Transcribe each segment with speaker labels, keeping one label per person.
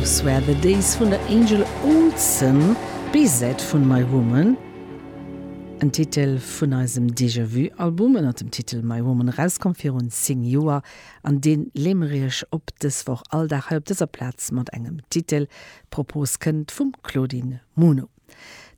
Speaker 1: Those Were The Days vun der Angel Olsen, B-Säit vun My Woman, en Titel vun eisem Déjà Vu Album ënnert dem Titel My Woman erauskomm virun 10 Joer an deen leeë mer iech op dës Woch all Dag hei op dëser Plaz mat engem Titel. D'Propos kënnt vum Claudine Muno.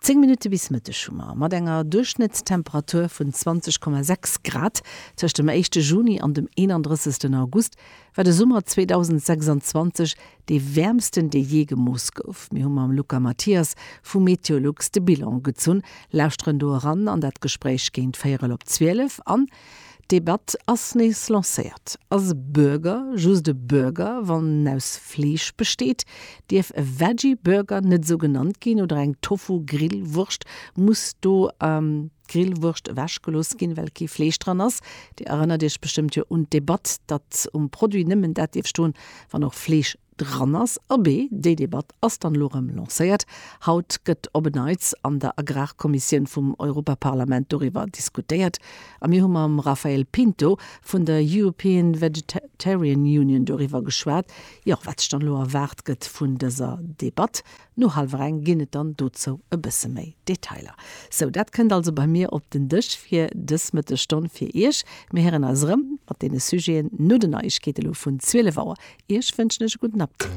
Speaker 1: 10 Minutte bis Mëtteg hu mer, mat enger Duerchschnëttstemperatur vun 20,6 Grad tëscht dem éischte Juni an dem 31. August, war de Summer 2026 dee wäermsten, dee jee gemooss gouf. Mir hu mam Luca Mathias vu Meteolux de Bilan gezunn, lauschteren do eran an dat Gespréich géint véierel op 12 an D'Debatt ass nees lancéiert. Ass e Burger just e Burger, wann en aus Fleesch besteet? Dierf e Veggie-Burger net esou genannt ginn? Oder eng Tofu-Grillwurscht? Muss do d'Grillwurscht ewechgelooss ginn, well kee Fleesch dran ass? Dir erënnert Iech bestëmmt jo un d'Debatt, datt um Produit nëmmen dat dierf stoen, wann och Fleesch dran ass. Abee, déi Debatt ass dann elo erëm lancéiert. Haut gëtt op en Neits an der Agrarkommissioun vum Europaparlament doriwwer diskutéiert. A mir hu mam Rafael Pinto vun der European Vegetarian Union doriwwer geschwat, jo, wat sech dann elo erwaart gëtt vun dëser Debatt. No hallwer eng ginn et dann dozou e bësse méi Detailer. Sou, dat kënnt also bei mir op den Dësch fir dës Mëttesstonn fir Iech. Mir héieren eis erëm mat deene Sujeten no den Neiegkeete lo vun 12 Auer. Iech wënschen ech e gudden Appetit.